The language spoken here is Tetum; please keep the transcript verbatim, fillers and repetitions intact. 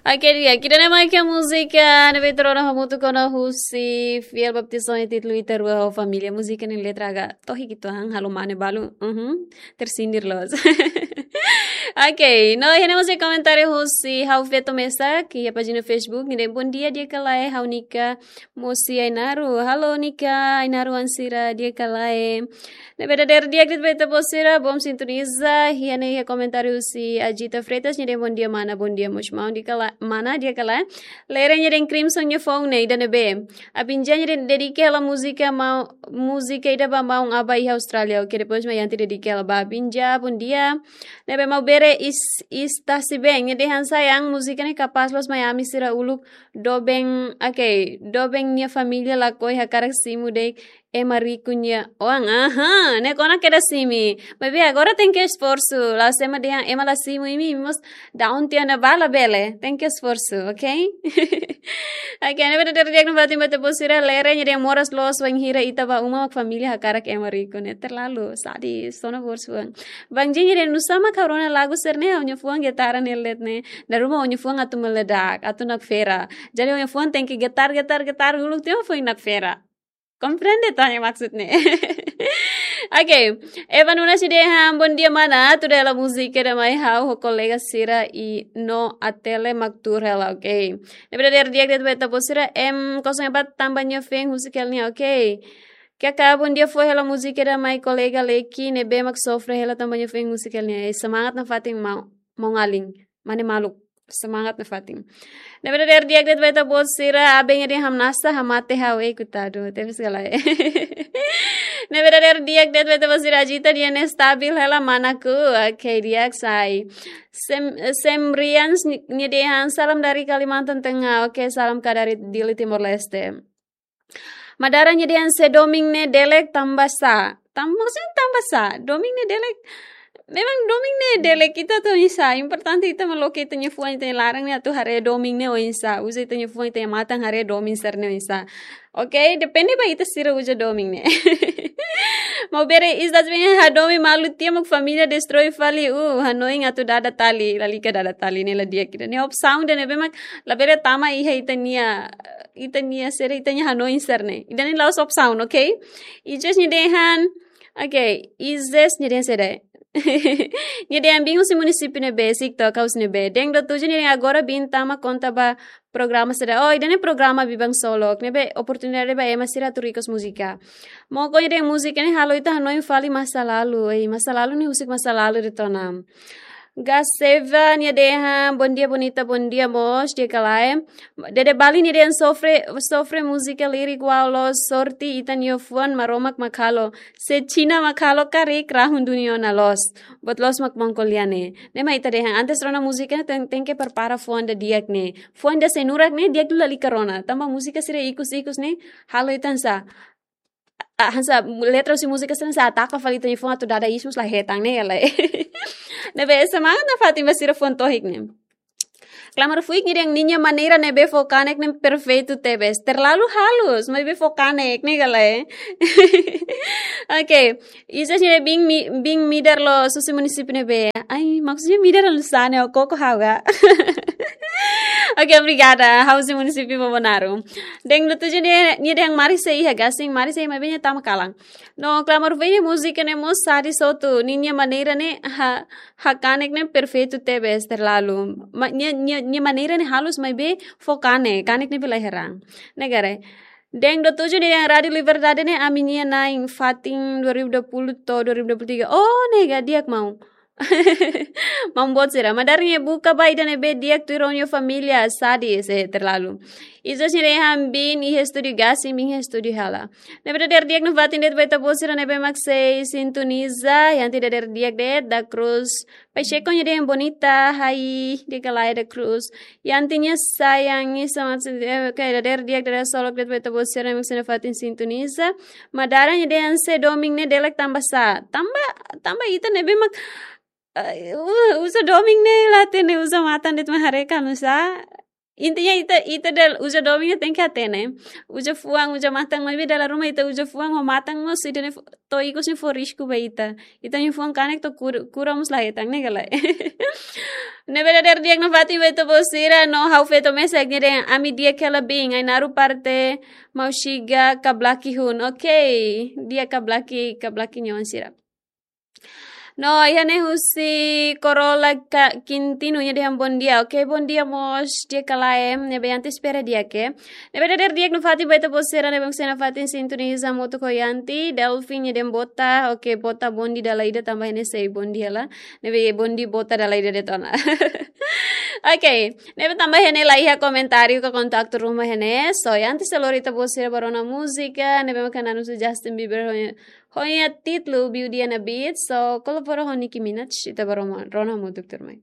Oke, di'ak, ida-ne'e mak múzika ne'ebé ita rona hamutuk ona husi fiel baptizasaun títulu Ita Rua ho Família. Múzika nia letra agak tohik uitoan, halo mane balu. Uhum. Tersindir loos. Oke, no iha ne'e mós iha komentáriu husi ha'u feto mesak iha pájina Facebook, nia dehan bom dia di'ak ka lae, ha'u Nika mós iha Ainaro. Halo Nika, Ainaro-an sira di'ak ka lae? Ne'ebé dadeer di'ak de'it ba ita-boot sira, bom sintoniza. Iha ne'e iha komentáriu husi Ajita Freitas, nia dehan bom dia mana, bom dia mós maun di'ak ka lae, mana di'ak ka lae? Lere nia dehan Crimson nia foun ne'e, ida-ne'ebé? Abinja nia dehan dedika hela múzika maun, múzika ida ba maun Aba iha Austrália. Oke, depois mak Yanti dedika hela ba Abinja, bom dia. Ne'ebé Maubere is, Istasi Ben, nia dehan sayang, múzika ne'e kapás loos mai ami sira uluk doben, oke, doben nia família lakohi hakarak simu de'it ema riku nia oan. Aha, ne'e kona kedas imi. Maibé agora tenke esforsu. La'ós ema dehan ema la simu imi, imi mós daun tiha ona ba labele. Tenke esforsu, oke? Oke, ne'ebé dadeer di'ak nafatin ba ita-boot sira, Lere nia dehan moras loos wainhira ita ba uma mak família hakarak ema riku ne'e. Terlalu sadis, sona borsuan. Bang Jin nia dehan nusá mak ha'u rona lagu sira-ne'e, ha'u-nia fuan getar ne'e de'it ne'e. Dala ruma ha'u-nia fuan atu meledak, atu nakfera. Jadi ha'u-nia fuan tenke getar, getar, getar uluk tiha mak foin nakfera. Komprende ita-nia maksud ne'e? Oke, Eva Nunes nia dehan bom dia mana, tuda hela múzika ida mai ha'u ho kolega sira i no Atele mak tuur hela, oke. Ne'ebé dadeer di'ak de'it ba ita-boot sira, M kosong empat tanba nia feen husik hela nia, oke. Kaka bom dia, fó hela múzika ida mai kolega Leki ne'ebé mak sofre hela tanba nia feen husik hela nia. Eh, semangat nafatin maun, maun-alin. Mane maluk. Semangat nafatin. Ne'ebé dadeer di'ak de'it ba ita-boot sira, Aben nia dehan hamnasa, hamate ha'u, ei kutadu. Tebes ka lae? Ne'ebé dadeer di'ak de'it ba ita-boot sira, Ajita nia dehan stabil hela manaku. Oke, di'ak sai. Sem, Sem Rians nia dehan salam dari Kalimantan Tengah. Oke, salam ka dari Dili Timor Leste. Madara nia dehan se domin ne'e delek tanba sá. Tanba, maksudnya tanba sá. Domin ne'e delek. Memang domin ne'e delek ita atu oinsá. Importante ita mak loke ita-nia fuan, ita-nia laran ne'e atu haree domin ne'e oinsá. Uza ita-nia fuan, ita-nia matan haree domin sira-ne'e oinsá. Oke, depende ba ita sira uza domin ne'e. Maubere Islas Ben, hadomi malu tiha mak família destroi fali, uh, hanoin atu dada tali, lalika dada tali ne'e la di'ak ida. Ne'e opsaun ida ne'ebé mak labele tama iha ita-nia, ita-nia sira, ita-nia hanoin sira-ne'e. Ida-ne'e la'ós opsaun, oke? Ijes nia dehan, oke, Ijes nia dehan saida? Nia dehan biin husi munisípiu ne'ebé, Sikto, ka husi ne'ebé? Deng do tuju nia dehan agora biin tama konta ba programa sira. Oh, ida-ne'e programa Biban Solok. Ne'ebé oportunidade ba ema sira atu rikues múzika. Moko nia dehan múzika ne'e halo ita hanoin fali masa lalu. Ei, masa lalu ne'e husik masa lalu de'it ona. Gaseva nia dehan, bom dia bonita, bom dia mós, di'ak ka lae? Dede Bali nia dehan sofre, sofre múzika lirik wau loos, sorte ita-nia fuan Maromak mak halo. Se Xina mak halo karik, rahun dunia ona loos. Buat loos mak maun ko'alia ne'e. Ne'e mak ita dehan antes rona múzika ne'e ten, tenke prepara fuan ida di'ak ne'e. Fuan ida sei nurak ne'e di'ak duni lalika rona. Tanba múzika sira ikus-ikus ne'e halo ita hanesan, ah, hanesan letra husi múzika sira hanesan ataka fali ita-nia fuan atu dada ismus la hetan ne'e, ka lae? Ne'ebé semangat nafatin ba sira fuan tohik ne'e. Klamar Fuik nia dehan ninia maneira ne'ebé fó kanek ne'e perfeitu tebes. Terlalu halus, maibé fó kanek ne'e, ka lae? Oke, Ijes nia dehan biin mi, biin midar loos husi munisípiu ne'ebé? Ai, maksudnya midar loos ne'e, koko ha'u ka? Oke, obrigada. Ha'u husi munisípiu Bobonaro. Deng do tuju nia, nia dehan mari sei iha gasing, mari sei, maibé nia tama kalan. No Klamar Fuik nia múzika ne'e mós sadis hotu, ninia maneira ne'e ha, hakanek ne'e perfeitu tebes, terlalu. Ma, nia, nia, nia maneira ne'e halus maibé fó kanek, kanek ne'ebé la heran. Ne'e ka lae? Deng do tuju nia dehan Rádio Liberdade ne'e ami-nia na'in fatin dua ribu dua puluh to'o dua ribu dua puluh tiga. Oh, ne'e ka, di'ak maun. Maun boot sira. Madara nia buka ba ida ne'ebé di'ak tuir ó-nia família, sadis, eh, terlalu. Ijes nia dehan biin iha estúdiu gasing, biin iha estúdiu hela. Ne'ebé dadeer di'ak nafatin de'it ba ita-boot sira ne'ebé mak sei sintoniza, Yanti dadeer di'ak de'it, da Cruz Pacheco nia dehan bonita, hai, di'ak ka lae da Cruz. Yanti nia sayang, nia semangat, eh, oke, dadeer di'ak, dadeer solok de'it ba ita-boot sira ne'ebé mak sei nafatin sintoniza. Madara nia dehan se domin ne'e delek tanba sá. Tanba, tanba ita ne'ebé mak, eh, u-, uza domin ne'e la hatene, uza matan de'it mak haree ka nusá. Intinya ita, ita dala uza domin ne'e tenke hatene. Uza fuan, uza matan, maibé dala ruma ita uza fuan ho matan mós ida-ne'e fo-, to'o ikus ne'e fó risku ba ita. Ita-nia fuan kanek to'o kur-, kura mós la hetan ne'e ka lae. Ne'ebé dadeer di'ak nafatin ba ita-boot sira, no ha'u feto mesak ne'e dehan ami di'ak hela biin, Ainaro parte Mauxiga Kablaki hun. Oke, di'ak Kablaki, Kablaki nia oan sira. No, iha ne'e husi Corolla ka Quintino nia dehan bom dia. Oke, bom dia mós, di'ak ka lae, ne'ebé Yanti espera di'ak. Ne'ebé dadeer di'ak nafatin ba ita-boot sira ne'ebé mak sei nafatin sintoniza hamutuk ho Yanti, Delfin nia dehan bota. Oke, bota bonde dala ida tanba iha ne'e sei bonde hela. Ne'ebé bonde bota dala ida de'it ona. Oke, ne'ebé tanba iha ne'e la iha komentáriu ka kontaktu ruma iha ne'e. So, Yanti sei lori ita-boot sira ba rona múzika, ne'ebé mak hanesan Justin Bieber ho nia, ho nia títulu Beauty and a Beat. So, kolabora ho Nicki Minaj, ita ba rona, rona hamutuk tuirmai.